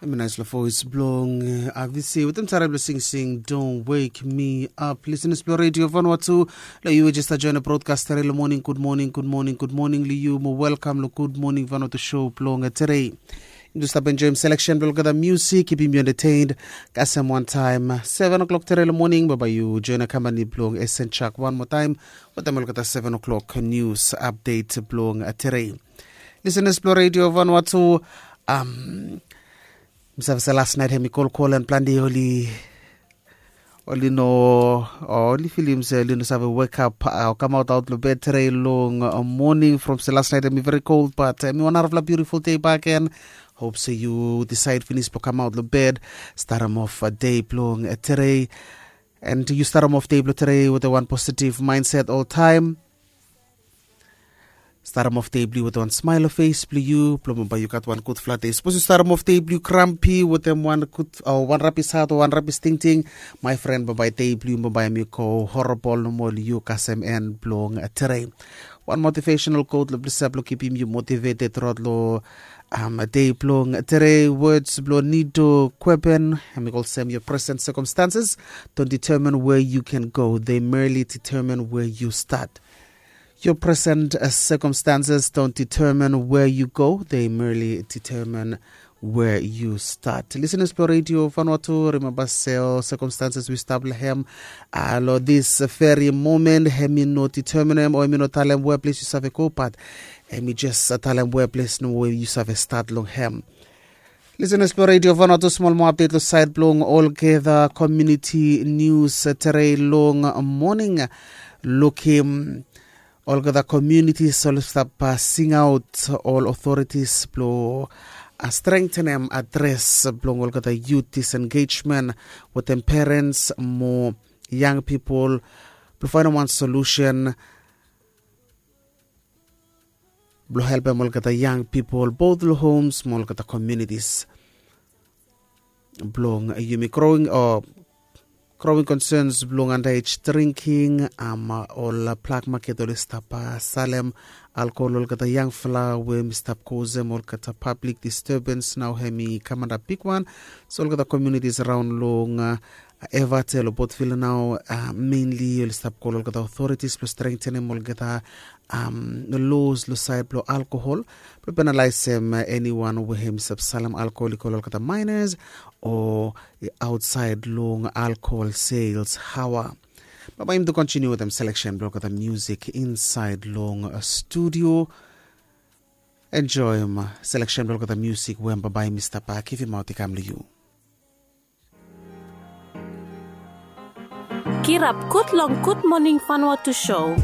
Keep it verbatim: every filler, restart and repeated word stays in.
Em i naispela voes bilong Avisi wetem sara bilong singsing Don't Wake Me Up. Listeners bilong Radio Vanuatu, long yu we just join a broadcast today long morning. Good morning, good morning, good morning long yu. Mo welcome long Good Morning Vanuatu show bilong today. Yu stap enjoyim selection bilong olgeta music, keepim yu entertained. Kasem one time seven o'clock today long morning, bye bye. Yu join a company bilong Esen Chak one more time wetem olgeta seven o'clock news update bilong today. Listeners bilong Radio Vanuatu, um, mi save se last night hem i kolkol and planti oli oli no oli filim se oli no save wake up o kamaut aut long bed today long morning from se last night hem i very cold, but hem i wan arafla beautiful day back again. Hope se yu decide finis bilong kamaut long bed, startim off day bilong today. And yu startim off day bilong today with a one positive mindset all time. Startim off day bilong yu wetem wan smile long face bilong yu bilong bai yu gat wan gudfala day. Sapos yu startim off day bilong yu krampi wetem wan gud o wan rabis hat o wan rabis tingting, my friend, bambae day bilong yu bambae em i go horrible nomo long yu kasem en bilong today. Wan motivational quote long blisa bilong kipim yu motivated throughout long um, day bilong today. Words bilong Nido Kweben, em i go olsem, your present circumstances don't determine where you can go, they merely determine where you start. Your present uh, circumstances don't determine where you go, they merely determine where you start. Listeners bilong Radio Vanuatu, remember se ol circumstances we stap long hem uh, long this very moment, hem i no determine hem o hem i no talem where place yu save go, but hem i just uh, talem where place no where yu save start long hem. Listeners bilong Radio Vanuatu, small more update long side bilong olgeta community news uh, today long morning. Lukim olgeta communities oli stap uh, singaut ol authorities bilong uh, strengthenem adres bilong olgeta youth disengagement wetem parents mo young people bilong finding one solution bilong helpem olgeta young people both long homes mo olgeta communities bilong yumi growing o growing concerns bilong underage drinking, um, ol black market oli stap uh, salem alkohol olgeta yangfala we mi stap kozem olgeta public disturbance nau hem i kamanda bigwan. So olgeta communities around long uh, Evate long Port Vila nau uh, mainly oli stap kol olgeta authorities bilong strengthenem olgeta um, laws long side bilong alkohol bilong penalaisem uh, anyone we hem i stap salem alkohol i kol olgeta minors o outside long alkohol sales hawa. Baba im to continue wetem selection bilong olgeta music inside long uh, studio. Enjoyim uh, selection bilong olgeta music we baba im i stap uh, givim out i kam long yu. Kirap gut long Good Morning Vanuatu show.